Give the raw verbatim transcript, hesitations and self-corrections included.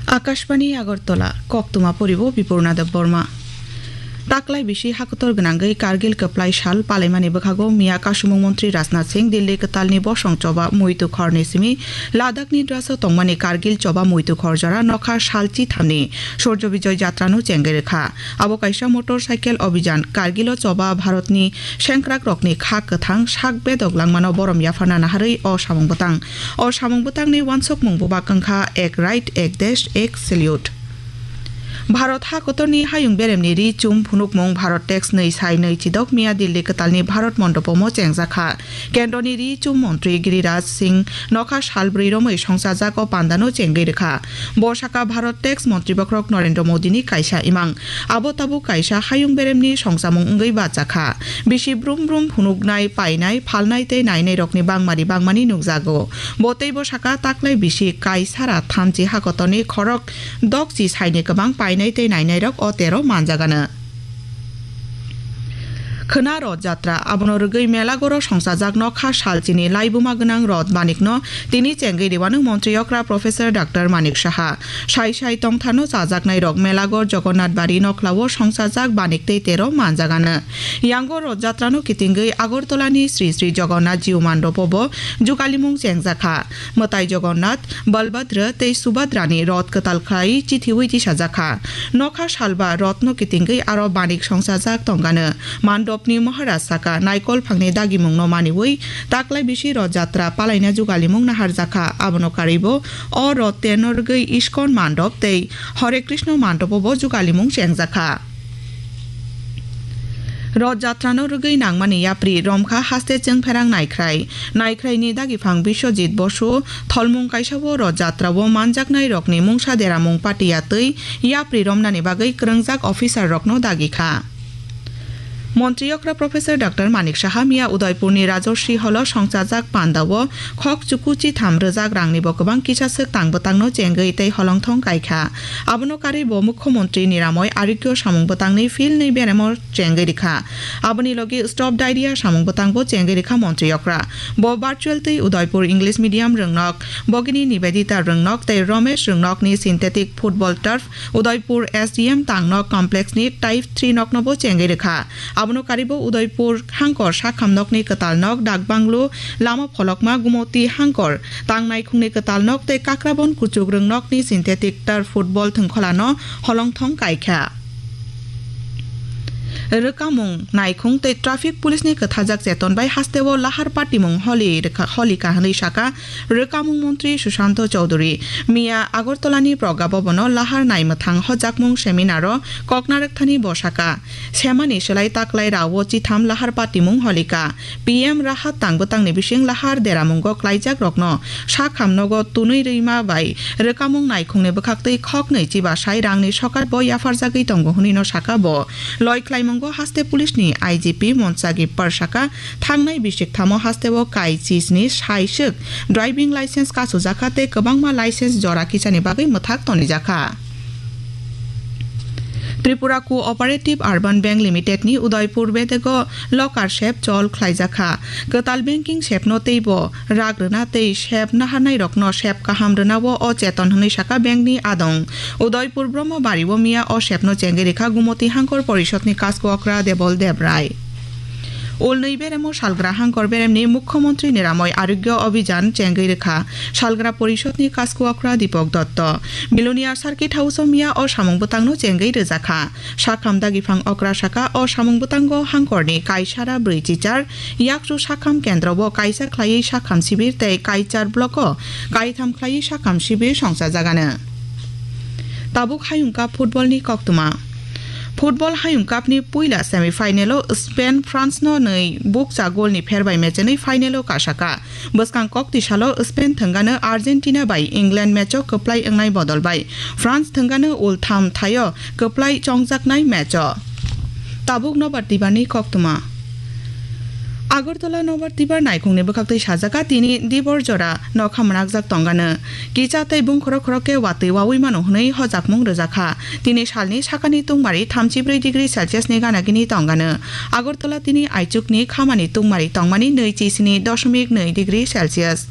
Akashbani Agartala, koktwma poribo Bipurna Debbarma. Taklai bisi hakotor gwnangwi Kargil kwplai sal palaimani bwkhago miya kasumung montri Rajnath Singh Dilli kwtalni bosong choba muitu khorni simi Ladakhni draso tongmani Kargil choba muitu khor jora nokha sal chithamni Surjo Bijoy Jatrano chengwi rwkha. Abo kaisa motor cycle obijan Kargilo choba Bharatni sengkrakrokni kha kwthang sak bedok langmano borom yapharna naharwi o samung bwtang. O samung bwtangni wansukmung bwbak wngkha Ek Right, Ek Desh, Ek Salute. Bharat hakotorni hayung beremni ri chum phunukmung Bharat Tex nwi sai nwi chidok miya Dilli kwtalni Bharat Mondopomo chengjakha. Kendroni ri chum montri Giriraj Singh nokha sal bwrwi romwi songchajak o pandano chengwi rwkha. Bo saka Bharat Tex montri bokhorok Narendra Modini kaisa imang. Abo tabuk kaisa hayung beremni songchamung wngwi bacha kha. Bisi brum brum phunuknai, painai, phalnai tei nainairokni bangmari bangmani nukjago. Bo teibo saka taklai bisi kaisara thamchi hakotorni khorok dokchi saini kwbang painai tei nainairok o tero manjagano. Khwna Rod Jatra, abono rwgwi Melagoro songchajak nokha salchini laibuma gwnang Rod Manikno tini chengwi rwano montri okra Professor Doctor Manik Saha. Sai sai tongthano chajaknairok Melagor Jagannath Bari nokhlao songchajak Banik tei tero manjagano. Yango Rod Jatrano kitingwi Agartalani Sri Sri Jagannath Jiu Mandopobo jugalimung chengjakha. Mwtai Jagannath, Balbhadra tei Subhadrani rot kwtal khlai chithiwi tisajakha. Nokha salba rotno kitingwi aro Banik songchajak tongano. Mandopni Maharaj saka naikol phangni dagimungno maniwi taklai bisi Rod Jatra palaina jugalimung naharjakha. Abono karwibo o rot terno rwgwi Iskon Mandop tei Hare Krishna Mandopobo jugalimung chengjakha. Rod Jatrano rwgwi nangmani yapri romkha haste chwngpherang Naikhrai. Naikhraini dagiphang Biswajit Bosu tholmung kaisao Rod Jatrao manjaknairokni mungsa deramung patiya twi yapri romnani bagwi kwrwngjak officerrokno dagikha. Montri okra Professor Doctor Manik Saha miya Udaipurni Rajorshi Holo songchajak pandao khok chuku chitham rwjak rangnibo kwbang kisa swk tang bwtangno chengwi tei holongthong kaikha. Abono karwi bo Mukhyamantri Niramoi Arogya samung bwtangni field ni beremo chengwi rikha. Aboni logi Stop Diarrhea samung bwtangbo chengwi rikha montri okra. Bo virtual twi Udaipur English Medium rwngnok, Bhagini Nivedita rwngnok tei Ramesh rwngnokni synthetic football turf Udaipur S D M tangnok complex ni Type three noknobo chengwi rikha. Abono karwibo Udaipur hangkor sakham nokni kwtal nok, dak banglo, lama pholokma, Gumoti hangkor tang naikhungni kwtal nok tei Kakrabon kuchuk rwngnokni synthetic turf football thwngkholano holongthong kaikha. Rwkamung naikhung tei traffic police ni kwthajak cheton bai hasteo lahar patimung holi rwkha-, holika hwnwi saka Rwkamung montri Sushanta Chowdhury. Miya Agartalani Pragya Bhavan-o lahar naimwthang hojakmung seminar-o kok narwkthani bo saka, semani swlai taklai rao chitham lahar patimung holika. P M Rahat tangbwtangni bising lahar deramungo klaijakrokno sakham nogo tunwi rwima bai rwkamung naikhungni bwkhaktwi khoknwi chibasai rangni sokat bo yapharjagwi tongo hwnwino saka bo. Loi khlaimungo haste police ni I G P Monsagi Par saka, thangnai bisik thamo hasteo kai chisni saiswk driving license kachujakha tei kwbangma license jora kisani bagwi mwthak tonijakha. Tripura Cooperative Urban Bank Limited ni Udaipur bedego locker sep chol khlaijakha. Kwtal banking sepno teibo rak rwna tei sep naharnairokno sep kaham rwnao o cheton hwnwi saka bankni adong. Udaipur Brahmabari o miya o sepno chengwi rikha Gumoti Hangkor Porishodni Kasko Okra Debol Debrai. Ulnwi beremo salgra hangkor beremni Mukhyamantri Niramoi Arogya Abhijan chengwi rikha salgra porishodni Kasko Okra Dipok Dotto. Milonia Circuit House o miya o samung bwtangno chengwi rwjakha. Sakham dagiphang okra saka o samung bwtango hangkorni kaisara bwrwi chichar, yakchu sakham kendrobo kaisa khlaiwi sakham sibir tei kaichar block o kaitham khlaiwi sakham sibir songchajagano. Tabuk Hayung Cup football ni koktwma. Football Hayung Cup ni puila semi final o Spain France no nwi bukcha goal ni pher bai mechenwi final o kasaka. Bwskang koktwi salo Spain thwngano Argentina bai England match o kwplai wngnai bodol bai France thwngano ultham thaio kwplai chongjaknai match o. Tabuk nobar tibar ni koktwma. Agartala nobar tibar naikhungni bwkhaktwi sajaka tini dibor jora nokha mwnakjak tongano. Kicha tei bungkhorok khorok khe watwi wawi mano hwnwi hojakmung rwjakha. Tini salni sakani tungmari thamchi brwi degree Celsius ni ganagini tongano. Agartala tini aichukni khamani tungmari tongmani nwi chi sini doshomik nwi degree Celsius.